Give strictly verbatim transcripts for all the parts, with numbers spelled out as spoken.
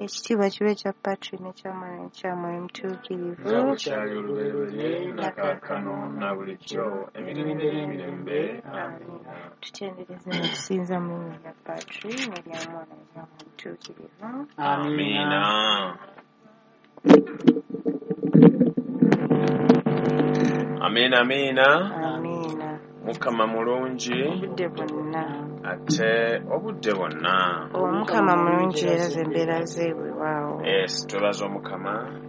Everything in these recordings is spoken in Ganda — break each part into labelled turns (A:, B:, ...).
A: Ekitiibwa kibe kya Patri n'ekya Mwana n'ekya Mwoyo Mutuukirivu.
B: Nga bwe kyali olubereberye na kaakano na bulijjo emirembe n'emirembe. Amiina.
A: Tutendereze ne tusinza mu linnya lya Patri n'erya Mwana n'erya Mwoyo Mutuukirivu.
B: Amiina. Amiina, amiina.
A: Amiina.
B: Mukama mulungi
A: obudde bwonna
B: ate obudde bwonna.
A: Omukama mulungi era ze mbeera ze weewaawo.
B: Yes, twebaza Omukama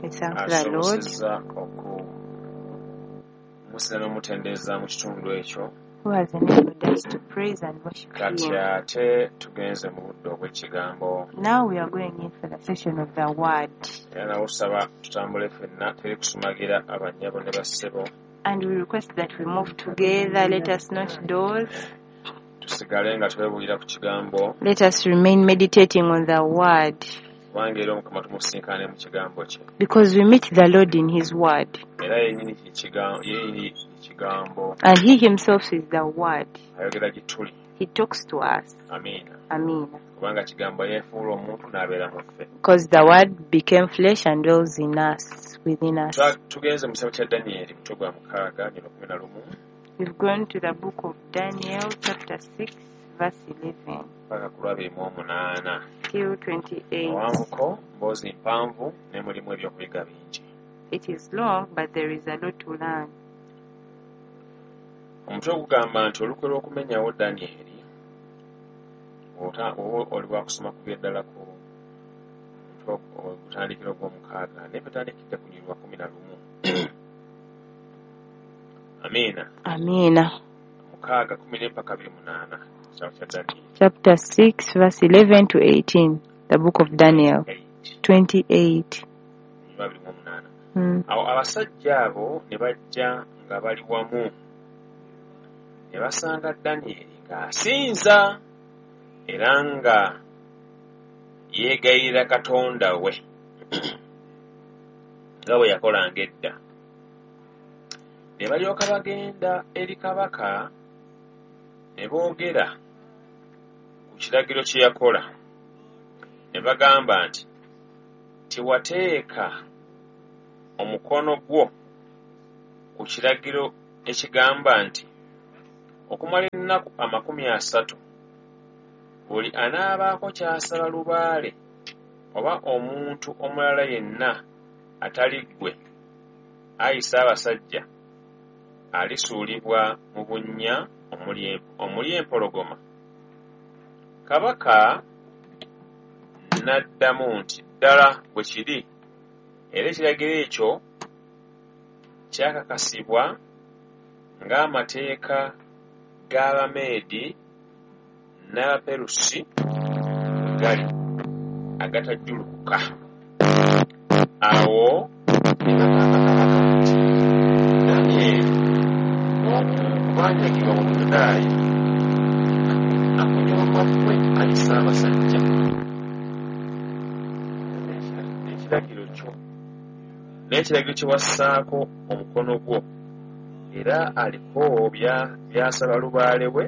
A: We thank the Lord
B: asobosezza okumusinza n'omutendereza mu kitundu ekyo.
A: who has enabled us to praise and worship
B: Kati
A: him.
B: ate tugenze mu budde obw'ekigambo.
A: Now we are going in for the session of the word.
B: Era nawo tusaba tutambule ffenna teri kusumagira abannyabo ne bassebo.
A: And we request that we move together. Let us not doze.
B: Tusigale nga twebuulira ku kigambo.
A: Let us remain meditating on the word.
B: Kubanga era Omukama tumusinkane mu kigambo kye.
A: Because we meet the Lord in his word.
B: Era yennyini kigambo, ye kigambo.
A: And he himself is the word.
B: Ayogera gye tuli.
A: He talks to us.
B: Amiina.
A: Amina.
B: Kubanga kigambo yeefuula omuntu n'abeera mu ffe.
A: Because the word became flesh and dwells in us, within us.
B: Tugenze mu kitabo kya Danyeri mutwe gwa mukaaga nnyina kumi na lumu.
A: We've gone to the book of Daniel chapter six verse eleven.
B: Paka ku lwabiri mu omunaana.
A: Till twenty-eight.
B: Owanvuko mboozi mpanvu ne mulimu ebyokuyiga bingi.
A: It is long but there is a lot to learn.
B: Omutwe ogugamba nti olukwe lw'okumenyawo Danyeri oba oli wakusoma kuva ddala ku mutwe ogutandikira ogw'omukaaga naye tutandikidde ku lunyiriri lwa kumi na lumu. Amiina.
A: Amiina.
B: Mukaaga kumi n'empaka abiri munaana. Kitabo kya Danyeri.
A: Chapter six verse eleven to eighteen, the book of Daniel. twenty-eight.
B: Abiri mu omunaana.
A: Mm.
B: Awo abasajja abo ne bajja nga bali wamu ne basanga Danyeri ng'asinza era nga yeegayirira Katonda we nga bwe yakolanga edda. Ne balyoka bagenda eri kabaka ne boogera ku kiragiro kye yakola. Ne bagamba nti tiwateeka omukono gwo ku kiragiro ekigamba nti okumala ennaku amakumi asatu buli anaabaako ky'asaba lubaale oba omuntu omulala yenna atali ggwe ayi Ssaabasajja alisuulibwa mu bunnya omuli empologoma. Kabaka n'addamu nti ddala bwe kiri, era ekiragiro ekyo kyakakasibwa ng'amateeka g'Abameedi n'Abaperusi bwe gali agatajjulukuka. Awo ne bagamba kabaka nti Danyeri omu ku baanyagibwa mu Buyudaaya akunyooma ggwe ayi Ssaabasajja n'ekiragiro kyo n'ekiragiro kye wassaako omukono gwo, era aliko by'asaba lubaale we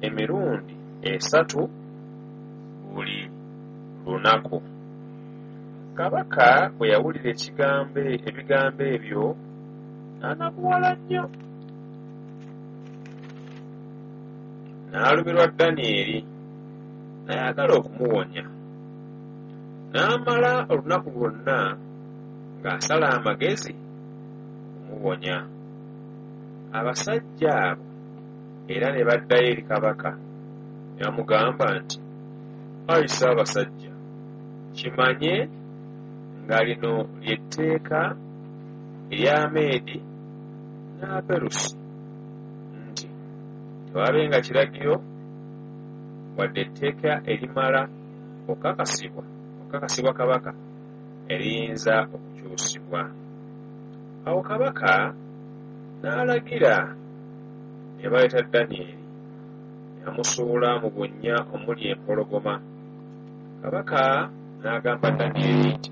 B: emirundi esatu buli lunaku. Kabaka bwe yawulira ekigambo ebigambo ebyo n'anakuwala nnyo. N'alumirwa Danyeri n'ayagala okumuwonya. N'amala olunaku lwonna ng'asala amagezi okumuwonya. Abasajja abo era ne baddayo eri kabaka ne bamugamba nti ayi Ssaabasajja, kimanye nga lino ly'etteeka ery'Ameedi n'Abaperusi nti tewabenga kiragiro wadde etteeka erimala okukakasibwa okukakasibwa kabaka eriyinza okukyusibwa. Awo kabaka n'alagira ne baleeta Danyeri ne bamusuula mu bunnya omuli empologoma. Kabaka n'agamba Danyeri nti